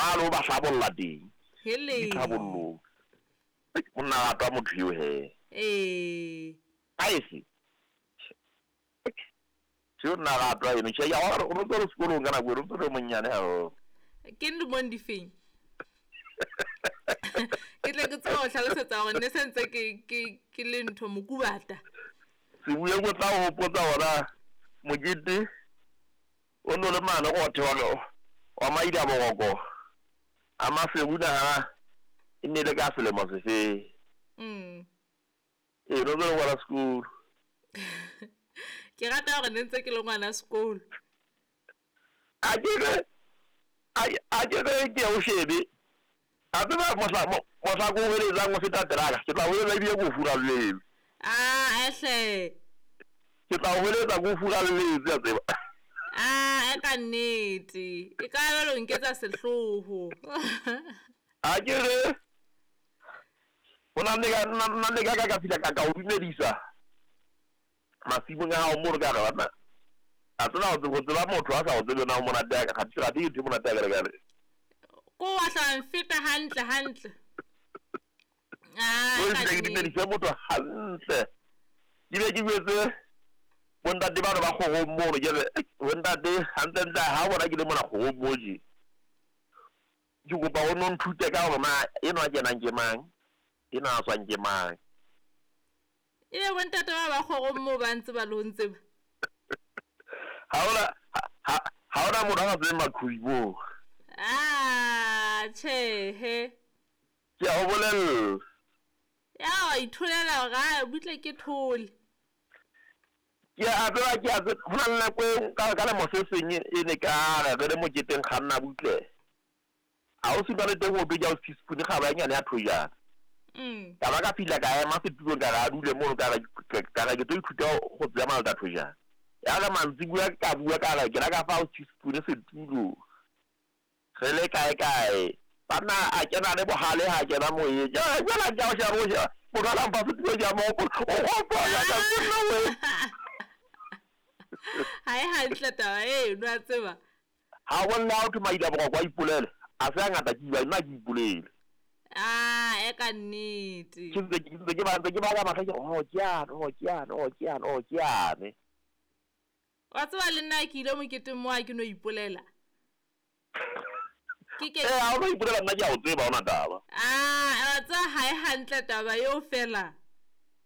Mane o ba hlabolla teng. Hele. Ditlhabollong. Monna ratwa motho eo he. Ee. Aese. Seo nna ratwa eno. Tjhe, ya o no tswe sekolong ka nako eno, o ntso le monnyane haholo. Ke lemong di feng? Ke tle ke tsebe ho hlalosetsa hore ne se ntse ke le ntho mokubata. Sebueng o tla o hopotsa hona mokete o no le mane go thewa wa maida boroko a Maseru naha e ne le ka selemo sefe. Ee, no ntse le ngwana sekolo. Ke rata hore ne ntse ke le ngwana sekolo. A ke re a ke re ke o shebe. A tseba mohla ko heletsang o feta teraka, ke tla o heletsa ebile ke o furalletse. Ah, ehle. Ke tla o heletsa ke o furalletse, a tseba. Ah, e ka nnete. E ka ba lo nketsa sehloho. A ke re ho na le ka nna le ka ka fihla ka o dumedisa masimong a hao mono ka re banna. A tseba ho tseba motho a sa o tsebe na o monate ya ka kgathe ke ntho e monate ya ka re. Ko wa hla mfeta hantle hantle. Ah, o ke dumedise motho hantle. Ke be ke jwetse bontate bano ba kgorong mono ke re bontate hantlentle ha bona ke le mona kgorong mo je. Ke kopa o no nthute ka hore na enwa kenang ke mang, enwa a tswang ke mang. Ebe bontate ba kgorong moo ba ntse ba le ho ntseba. Ha hona motho a sa tsebeng Maqhubi moo. Ah, tjhehe. Ke a o bolella. Ya wa itholela hore a butle ke thole. Ke a tseba ke a tseba ho na le nako e ka lemo se seng e ne ka re re le moketeng kganna butle. Ha o suna le teng o be ja o teaspoon kgaba e nyane ya thojana. Ka ba ka fihla ka ema setulong ka re a dule mono ka re ke tlo ithuta go tseba malta thojana. Ya re mantsibuya ka bua ka re ke la ka fa o teaspoon setulo. Re le kae kae. Banna a kena le bohale ha kena moyeng. Jwale ke a o sheba o sheba. Motho a la mpha setulo ke a mo hopola. O hopola ka nna we. Ha e hantle taba eno a tseba. Ha o bolla o thwe maila boroko a ipolele. A se a ngata ke iba nna ke ipolele. Ah, e ka nnete. Ke ntse ke ba ntse ke ba ka mahlo ke oh ke yane, oh ke yane, oh ke yane, oh ke yane. Wa tseba le nna ke ile moketeng mo a ke no ipolela. Ke ke ha o no ipolela nna ke a o tseba ona taba. Ah, wa tseba ha e hantle taba eo fela.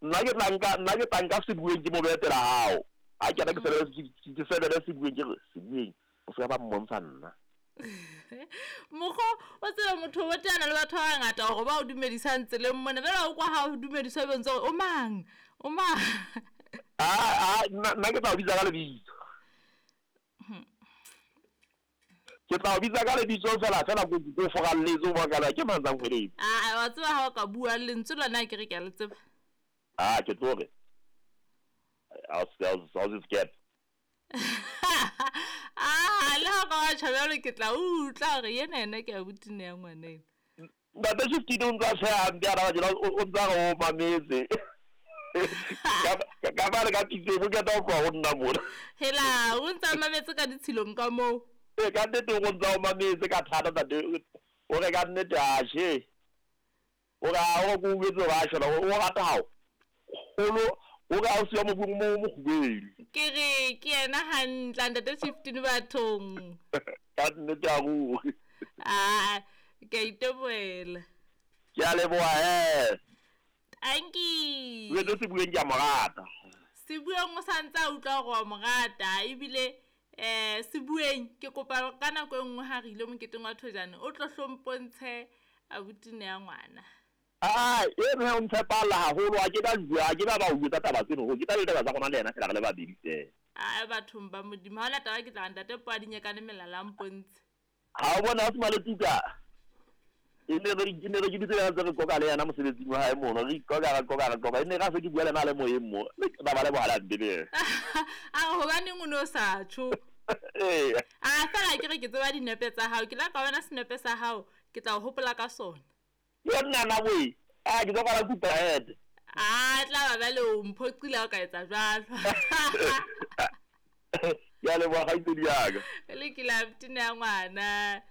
Nna ke tla nka sebueng ke mo behe pela hao. Ha ke ke sebele sebueng ke re sebueng o se ba mmontsha nna. Mokgo o tseba motho o teana le batho ba bangata hore ba o dumedisang tseleng mona jwale o kwa ha o dumediswa be ntse o mang o mang. Ah, nna ke tla o bitsa ka lebitso. Ke tla o bitsa ka lebitso fela fela ko foralletse o bona ke mang tsang kgweletse. Ah, wa tseba ha o ka bua lentswe lona ke re ke a le tseba. Ah, ke tlo re. I'll skip. Ah, le ha ka wa tjha jwalo ke tla utlwa hore yena ena ke abuti ne ya ngwana ena. Ntate Shifty o ntsa tjheha hampe a raba tjena o ntsa re o mametse. Ka ba re ka pitse bo keta ho tloha ho nna mona. Hela, o ntsa mametse ka ditshilong ka moo. Ee, ka nnete o ntsa o mametse ka thata ntate. O re ka nnete a she. O re a o ko utlwetse hore a shona o rata hao. Holo o re a o siya mobung mo mokgubedi. Ke re ke yena hantle ntate Shifty bathong. Ka nnete a ruri. Ah, ke a itebohela. Ke a leboha he. Tanki. Wetse sebueng ke a mo rata. Sebueng o sa ntse a utlwa hore wa mo rata ebile sebueng ke kopa ka nako e nngwe ha re ile moketeng wa thojane o tlo hlompontshe abuti ne ya ngwana. Ah, e ne o ntshepala haholo a ke ba bua ke ba ba o etsa taba tseno ke tla le taba tsa rona le yena fela re le babedi fela. Ah, bathong ba Modimo ha ona taba ke tla ntate po a dinyekane melala mpontshe. Ha o bona o sema le tuka. E ne re ke ditse tse re qoqa le yena mosebetsing wa hae mono re qoqa e ne ra se ke bua le na le moyeng mo ba ba le bohala mpebe. A hobaneng o no sa tjho. Eh. Ah, fela ke re ke tseba dinepe tsa hao ke la ka bona senepe sa hao ke tla o hopola ka sona. Ke nna na boe. Ah, ke tlo kwala kupa head. Ah, tla ba bale o mphoqile ha o ka etsa jwalo. Ke a leboha kgaitsedi ya ka. Le ke la tine ya ngwana.